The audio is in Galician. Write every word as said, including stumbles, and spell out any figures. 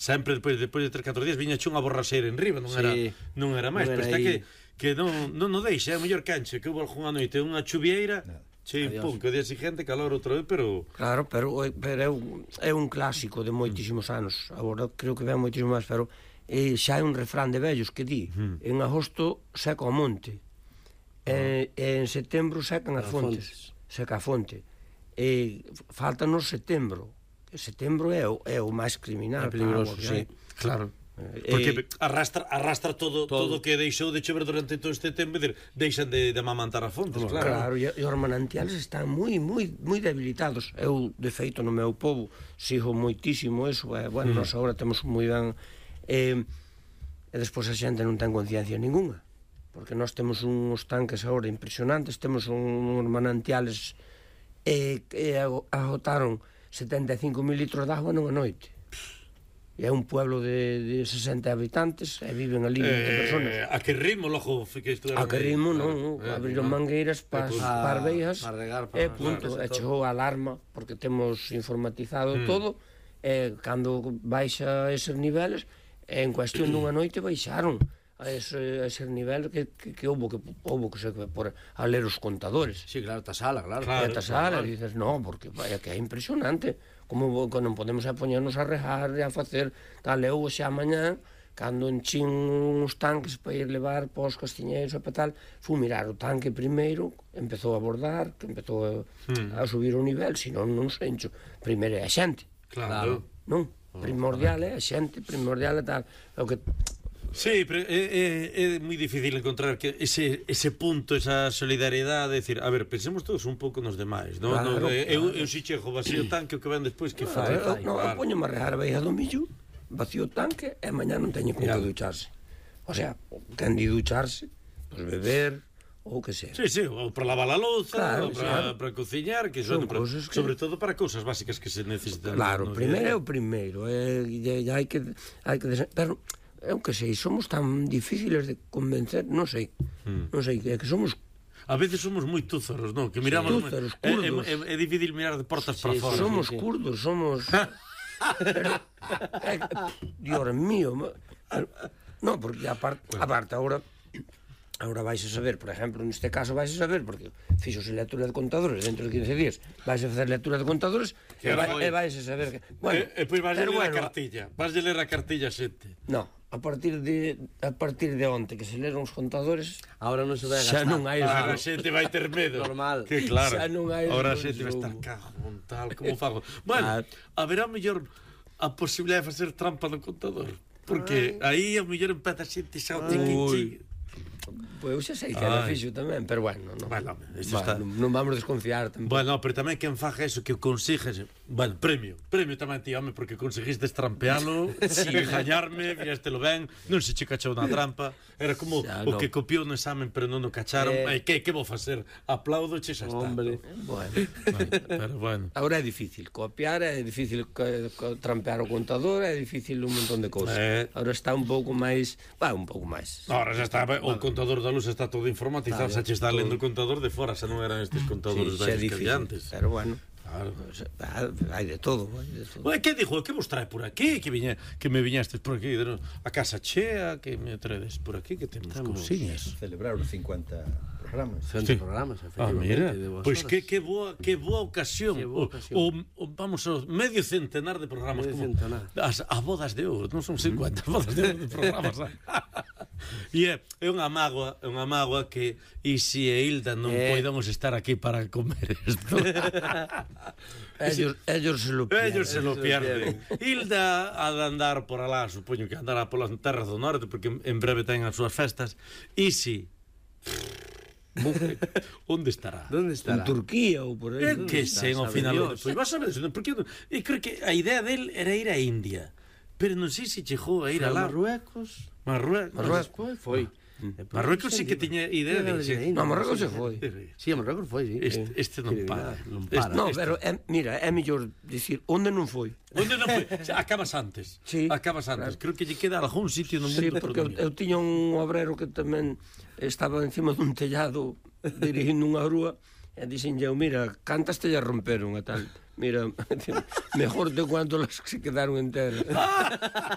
sempre despois, despois de tres, catro días viña unha borraseira en riba, non Sí. era non era máis, Non pero era está aí. que que non non o deixa, é o mellor canche que houve algunha noite unha chuvieira, che, Adiós. pum, que o día seguinte calor outra vez, pero Claro, pero, pero é, un, é un clásico de moitísimos anos. Agora creo que ven moitísimo máis, pero eh, xa é un refrán de vellos que di en agosto seca o monte, e, e en setembro secan as As fontes, seca a fonte, e faltanos setembro. Setembro é o, é o máis criminal, É peligroso, para a agua que sí. hai. claro. Eh, Porque arrastra arrastra todo todo Todo. o que deixou de chover durante todo este tempo, de, deixan de, de amamantar as fontes, claro. Claro, e, e os manantiales están moi moi moi debilitados. Eu, de feito, no meu povo sigo moitísimo eso, e, bueno, mm. nós agora temos moi ben e, e despois a xente non ten conciencia ninguna, porque nós temos uns tanques agora impresionantes, temos uns manantiales e, e agotaron setenta e cinco mil litros de agua nunha noite. E é un pueblo de, de sesenta habitantes e viven ali vinte personas. Eh, a que ritmo logo fiquei A que ritmo, non, eh, abriron mangueiras para as pa- parveiras pa regar, pa- e punto, claro, e chegou a alarma porque temos informatizado Mm. todo, e cando baixa eses niveles, en cuestión dunha noite baixaron a ese, a ese nivel que, que, que houbo que houbo que se por a ler os contadores. Sí, claro, ta sala, claro. Claro. E a sala, e dices, no, porque vaya, que é impresionante como que non podemos a poñernos a rejar e a facer tal, eu xa mañá cando enchín uns tanques para ir levar para os castiñeiros e para tal, fui mirar o tanque primeiro, empezou a bordar, que empezou a, Mm. a subir o nivel, senón non se encho. Primeiro é a xente, Claro. non? Primordial é a xente, primordial é tal, o que Sí, pero é, é, é moi difícil encontrar que ese, ese punto, esa solidariedade, decir, a ver, pensemos todos un pouco nos demais, non? Claro, no, eu, claro. eu si chego vacío tanque, o que ven despois, que Ah, fai? eu, non, eu Claro. poño a regar a beija do millo, vacío o tanque e mañá non teño con que Claro. ducharse. O sea, ten de ducharse, pues beber ou que sea. Sí, sí, ou para lavar a louza, Claro, ou para, claro. para cociñar, que Son son, para, cousas que- sobre todo para cousas básicas que se necesitan. Claro, no o primeiro é día a o día. primeiro, e, e, e hai que hai que desen- pero eu que sei, somos tan difíciles de convencer, non sei. Mm. Non sei, é que somos A veces somos moi túzaros, non? Que miramos, Sí, túzaros, é, é, curdos. é, é difícil mirar de portas Sí, para sí, fora. somos sí. curdos, somos pero, é, Dios mío, ma- pero, non, porque aparte, aparte agora Agora vais a saber, por exemplo, neste caso vais a saber, porque fixose lectura de contadores dentro de quince días, vais a facer lectura de contadores e, vai, e vais a saber que... Bueno, e, e pois vas a ler pero a bueno, cartilla. Vas a ler a cartilla xente. no, a partir de a partir de onte que se leron os contadores, Ahora non se vai a xa gastar. non hai Ah, a ese- xente vai ter medo. Normal. Que claro. Xa non hai Ahora a ese xente vai estar consumo. cago, tal, como fago. Bueno, haberá mellor a posibilidade de facer trampa no contador. Porque aí a mellor empeza a xente xa o tiquichi. Pois eu xa sei que era Ai. fixo tamén, pero bueno, non. Bueno, isto Va, está- non, non vamos desconfiar tampouco. Bueno, pero tamén quen faja eso que o consigues. Bueno, premio. Premio tamén ti, home, porque conseguiste estrampealo, sí. Engañarme, firástelo ben, non se che cachou na trampa. Era como Xa, o no. que copiou no examen, pero non o cacharon. Eh. Eh, que, que vou facer? Aplaudo, che xa está. Hombre. Bueno, Bueno, pero bueno. agora é difícil copiar, é difícil co- co- trampear o contador, é difícil un montón de cousas. Eh. Agora está un pouco máis, va, un pouco máis. Ahora xa está, o contador da luz está todo informatizado, xa che está lendo o contador de fora, xa non eran estes contadores Sí, xa é vellos que difícil, había antes. pero bueno, Claro. ah, hai de todo, hai de todo. Bueno, que dixo? Que vos trae por aquí? Que viña, que me viñastes por aquí, de- a casa chea, que me traedes por aquí, que temos Temos. cousiñas. Celebrar os cincuenta programas. Centro Sí. programas, Ah, efectivamente. mira, de boas pois horas. que, que boa que boa ocasión. Que boa ocasión. O, o, o, vamos ao medio centenar de programas, Medio como centenar. as a bodas de ouro, non son cincuenta bodas de ouro de programas. E é, é unha mágoa, é unha mágoa que Isi e Hilda non Eh. poidamos estar aquí para comer isto. Ellos, ellos se lo pierden. Ellos se lo se lo pierden. Hilda ha de andar por alá, supoño que andará polas terras do norte, porque en breve ten as súas festas. Isi, onde estará? Donde En estará? Turquía ou por aí. É que sei, ao sabe final, Dios. pois vas a ver, porque eu, eu creo que a idea del era ir a India, pero non sei se chegou a ir Foi a a lá. Marruecos. Marruecos. Marruecos foi. Marruecos sí que tiña idea de irse. No, Marruecos se foi. Sí, a Marruecos foi, sí. Este, este non Que para. non Este- para. No, este- pero é, mira, é mellor dicir onde non foi. Onde non foi? Xa, acabas antes. Sí, Acabas antes. claro. Creo que lle queda algún sitio no mundo Sí, por porque eu, donde. eu tiña un obrero que tamén estaba encima dun tellado dirigindo unha grúa e dixen eu, mira, cantas tellas romperon e tal. Mira, mejor te cuanto las que se quedaron enteras.